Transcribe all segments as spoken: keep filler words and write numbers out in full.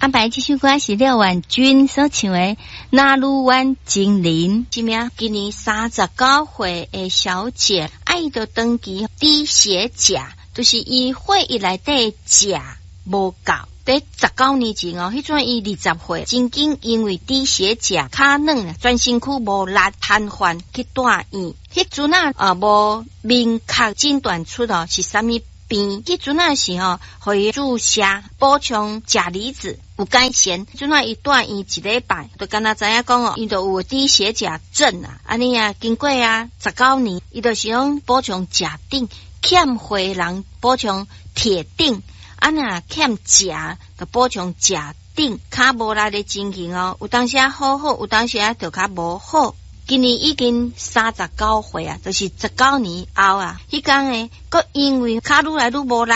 阿白這首歌是廖婉君所唱的《那魯灣精靈》，是咩？今年三十九歲的小姐，啊伊就長期低血鉀，就是伊血液內底鉀無夠。佇十九年前哦，彼陣伊二十歲，曾經因為低血鉀、跤軟、全身軀無力、癱瘓去住院。彼陣啊，啊無明確診斷出哦是啥物病。彼陣啊是吼，予伊注射補充鉀離子有改善。陣啊伊住院一禮拜，就敢若知影講哦，伊就有低血鉀症啊。按呢啊，經過啊十九年，伊就是講補充鉀銖，欠血人補充鐵銖。啊若欠鉀，就補充鉀銖，跤無力的情形哦，有當時啊好好，有當時啊就較無好。今年已經三十九歲啊，就是十九年後啊，彼工呢，閣因為跤愈來愈無力，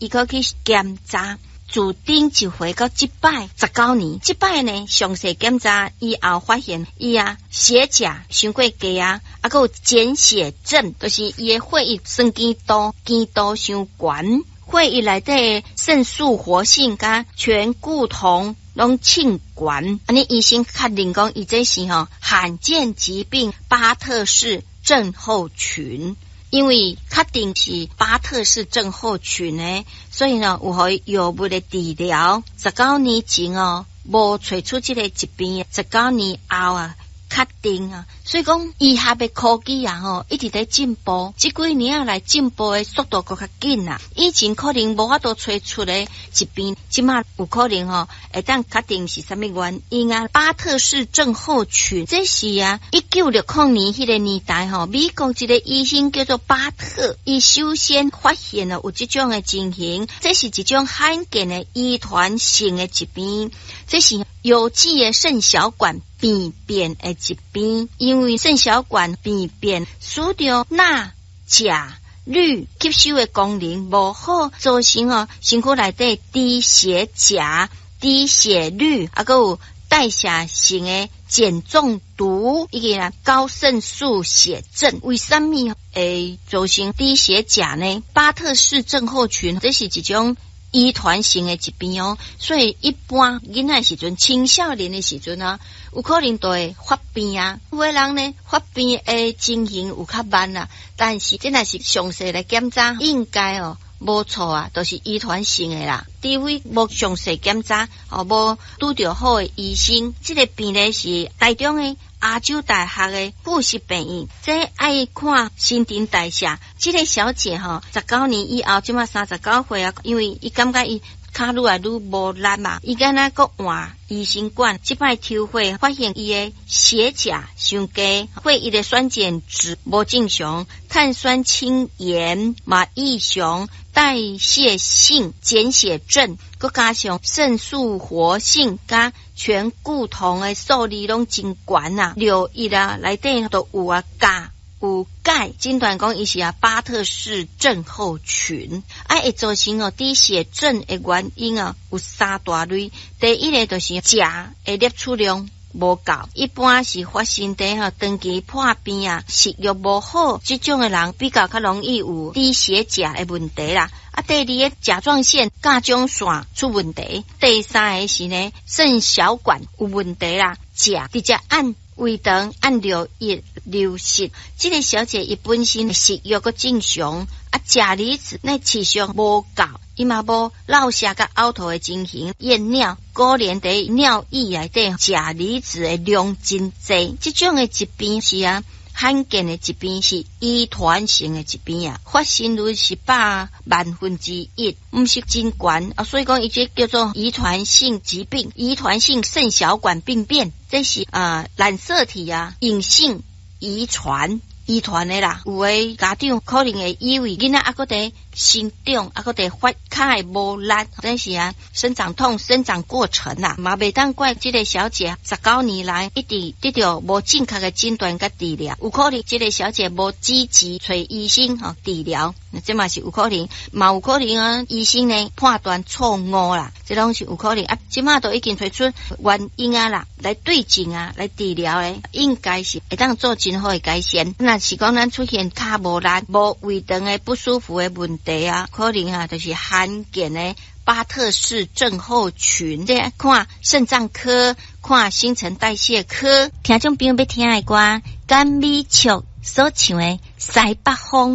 伊閣去檢查，自頂一回到這擺十九年，這擺呢詳細檢查以後發現，伊啊血鉀傷過低啊，啊閣有鹼血症，就是伊的血液酸鹼度、鹼度傷懸。血液內底腎素活性佮醛固酮攏衝懸，按呢醫生確認講，伊這是吼罕見疾病巴特氏症候群。因為確定是巴特氏症候群呢，所以呢有予伊藥物的治療。十九年前哦，無揣出這个疾病，十九年後啊。確定啊，所以講醫學的科技啊，吼一直佇進步，這幾年啊來進步的速度閣較緊啊。以前可能無法度揣出的疾病，這馬有可能吼會當確定是啥物原因啊。巴特氏症候群，這是啊，一九六零年彼個年代吼，美國一個醫生叫做巴特，伊首先發現了有這種的情形，這是一種罕見的遺傳性的疾病，這是有機的腎小管病變的疾病，因為腎小管病變，使得鈉、鉀、鋁吸收的功能無好，造成哦身軀內底低血鉀、低血鋁，啊，閣有代謝性的鹼中毒，以及啊高腎素血症。為啥物會造成低血鉀呢？巴特氏症候群，這是一種遺傳性的疾病哦，所以一般囡仔時陣、青少年的時陣啊，有可能就會發病啊。有的人呢，發病的情形有較慢啊，但是這若是詳細來檢查，應該哦無錯啊，都是遺傳性的啦。除非無詳細檢查，哦，無拄著好的醫生，這個病例是台中的亞洲大學的附屬病院，這愛看新陳代謝。這個小姐吼，十九年以後，這馬三十九歲啊，因為伊感覺伊跤愈來愈無力嘛，伊敢若閣換醫生管，這擺抽血發現伊的血鉀傷低，血液的酸鹼值無正常，碳酸氫鹽嘛異常，代謝性鹼血症，閣加上腎素活性佮醛固酮的數字攏真懸啊，尿液啊內底都有啊鉀。有鈣，診斷講伊是啊巴特氏症候群，啊會造成哦低血症的原因啊有三大類。第一个就是鉀的攝取量無夠，一般是發生佇吼長期破病啊、食欲無好這種的人比較較容易有低血鉀的問題啦。啊，第二个甲狀腺甲狀腺出問題，第三个是呢腎小管有問題啦，鉀直接按胃腸按尿液流失。這個小姐伊本身食欲閣正常，啊，鉀離子那持續無夠，伊嘛無落瀉佮嘔吐的情形，驗尿果然佇尿液內底鉀離子的量真濟。這種的疾病是啊罕見的疾病，是遺傳性的疾病啊，發生率是百萬分之一，毋是真懸啊，所以講伊這叫做遺傳性疾病，遺傳性腎小管病變，這是啊染色體啊隱性遺傳。遺傳的啦，有的家長可能會以為囡仔猶閣佇成長，猶閣佇發跤會無力，這是啊生長痛、生長過程啦，嘛袂當怪這個小姐十九年來一直得著無正確的診斷佮治療，有可能這個小姐無積極揣醫生吼治療，這嘛是有可能，嘛有可能啊醫生呢判斷錯誤啦，這攏是有可能啊。這馬都已經揣出原因啊啦，來對症啊，來治療咧，應該是會當做真好的改善。若是講咱出現跤無力、無胃腸的不舒服的問題。題啊，可能啊，就是罕見的巴特氏症候群。這看腎臟科，看新陳代謝科。聽眾朋友欲聽的歌，甘美卓所唱的《西北風》。